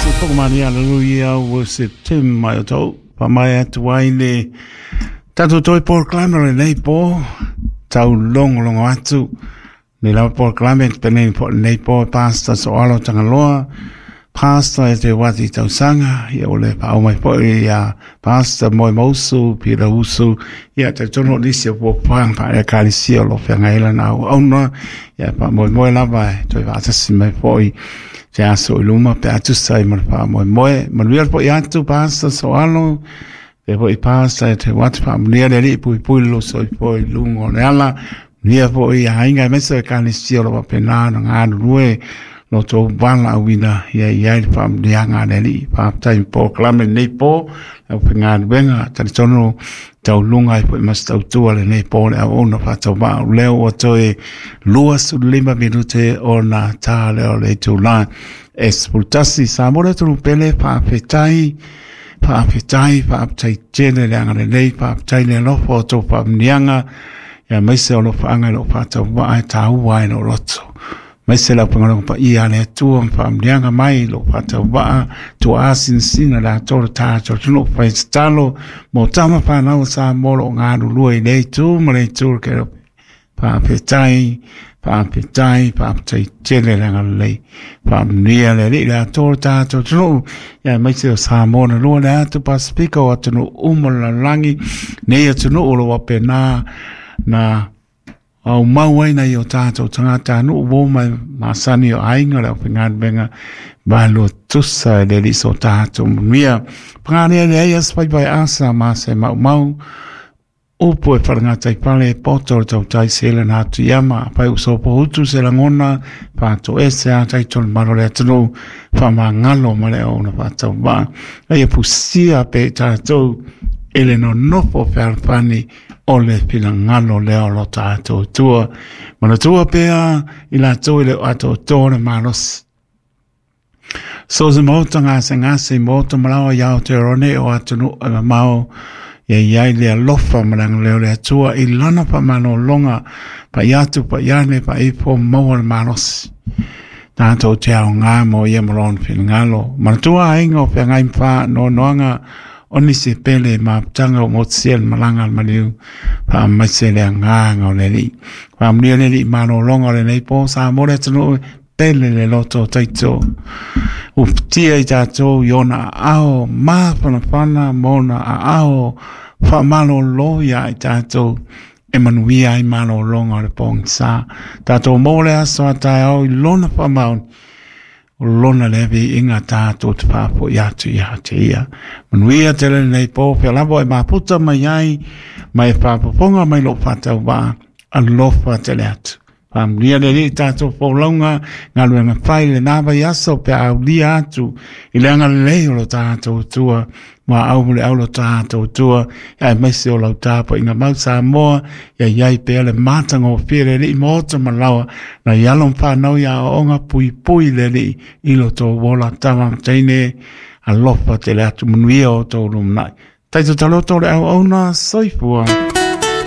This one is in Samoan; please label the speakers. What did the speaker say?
Speaker 1: Pokomani, hallelujah, worship Tim mai o tau. Pa mai atu ai le tatou toi polokalame o lenei po, tau longolongo atu. Nei lava polokalame penei po lenei po, Pastor Soalo Tagaloa, Pastor e te wati tausaga, ia o le paau mai po ia Pastor Moe Mausu, Peter Usu, ia te tono nisi o puapuaga pa e kalisia o lo feagaila na au auna, ia pa moe moe lava e toi vaatasi mai foi te aso i luma pe atusa i ma le faamoemoe. Manuia le foi atu Pastor Soalo, pe foi Pastor e te wati faamunia le alii puipui le soifua i luga o le ala. Manuia foi aiga aemaise o ekalesia o lo faapena ona galulue lo tou valaauina ia i ai le faamuniaga a le Alii. Faafetai i polokalame lenei po, le aufaigaluega talitonu tauluga ai foi ma se tautua lenei po le auauna faatauvaa o lea ua toe 25 minute ona ta lea o le itula e 11. Samoa le atunuu pele, faafetai, faafetai, faafetai tele le agalelei, faafetai le alofa o tou faamuniaga, ia aemaise o alofaaga i lou faatauvaa e taua ai lou loto. Aemaise le aufaigaluega paia a le Atua ma faamanuiaga mai i lou faatauvaa, tuaa sinasina le atoa o le tatou atunuu fai tatalo mo tama fanau o Samoa o lo o galulue i lea itu ma le itu o le kelope. Faafetai, faafetai, faafetai tele le agalelei. Faamanuia le Alii le atoa o le tatou atunuu, ia aemaise o Samoa na lua le atu Pasifika o atunuu uma o le lalolagi, nei atunuu o lo o faapena na aumau ai nai o tatou tagatanuu ua mai masani o aiga o le aufaigaluega malo tusa e le alii so tatou manuia. Pagalia le ai as faiva e asa ma se maumau, upu e wharangata i pale, poto o le tautai se le nā atu iama, pai uso pohutu se langona, whāto e se a taitolu malo le atunuu, whamangalo ma le au na whātau wā. Ai e pusia pe tātou, e le nonofo fealofani o le finagalo lea o lo tatou Atua. Manatua pea i latou e le o atoatoa le malosi. So se maota gasegase i maota malaoa i Aotearoa nei o atunuu e mamao, ia i ai le alofa ma le agalelei o le Atua i lana faamalologa, pai atu, pai ane, pai ifo, maua le malosi. Tatou te aoga mo ia ma lona finagalo. Manatua aiga o feagai ma faanoanoaga o nisi pele mafutaga o motusia le malaga a le maliu, faamaise le agaga o le Alii. Faamanuia le Alii malologa o lenei po, Samoa le atunuu pele le loto o taito. Ufitia i tatou i ona aao mafanafana ma ona aao faamalolo ia i tatou e manuia ai malologa o le pogisa. Tatou maua le aso a taeao i lona faamaoni, o lona lea viiga tatou te faafoi atu ia te ia. Manuia tele lenei po, fea lava e mafuta mai ai, ma e faafofoga mai lou faatauvaa, alofa tele atu. Faamanuia le Alii i tatou folauga, galuega fai lena vaiaso pe a aulia atu i le agalelei o lo tatou Atua, ma au ma le au lo tatou Atua, aemaise o lau tapuaiga mau Samoa, ia i ai pea le matagofie le Alii maota ma laoa, nai alo ma fanau ia aoaoga puipui le Alii i lo tou ola tama ma teine, alofa tele atu manuia o tou lumanai. Taito taloto le auauna, soifua.